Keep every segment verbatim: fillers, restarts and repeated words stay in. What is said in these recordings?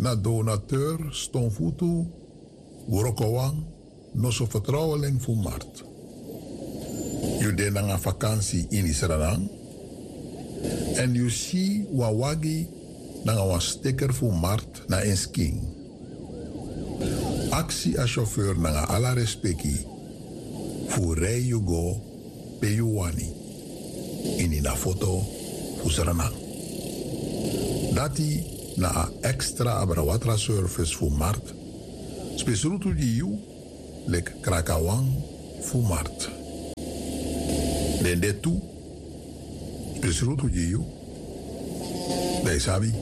na donateur stonfutu, wrokowan, noso fertrouweling fu mart. Yu de nanga vakansi ini Sranan èn yu si wan wagi nanga wan sticker fu mart na en skin. Aksi a chauffeur nanga ala respeki fu rei yu go pe yu wani. Ini na foto fu Sranan. Dati na a extra abrawatra service fu mart. Spesrutu gi yu leki krakawan fu mart. Den de tu spesrutu gi yu. Dan yu sabi.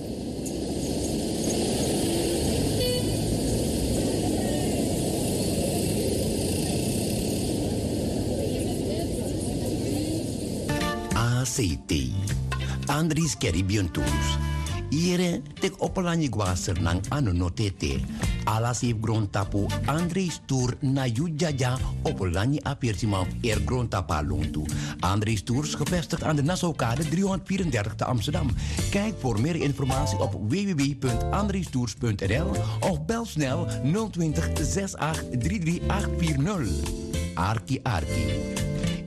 A C T, Andries Caribbean Tours. Yere, teki Opo Lanyi go na Sranan, a no no tete. Ala seif grontapu, Andries Tour na yu dyadia. Opo Lanyi a persiman fu eri grontapu a lontu. Andries Tours, gevestigd aan de Nassaukade driehonderdvierendertig te Amsterdam. Kijk voor meer informatie op w w w punt andriestours punt n l of bel snel nul twintig zes acht drie drie acht vier nul. Arki, arki.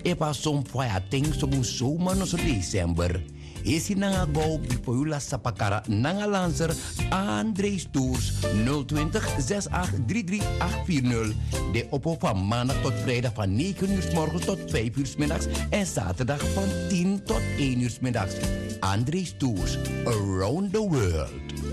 Efu a son fu a ya ten so bun, sowma noso december. Hesi nanga go bifo yu lasi sapakara nanga lanser, Andries Tours, nul twintig zes acht drie drie acht vier nul. Den opo van maandag tot vrijdag van negen uur 's morgens tot vijf uur 's middags en zaterdag van tien tot één uur 's middags. Andries Tours, around the world.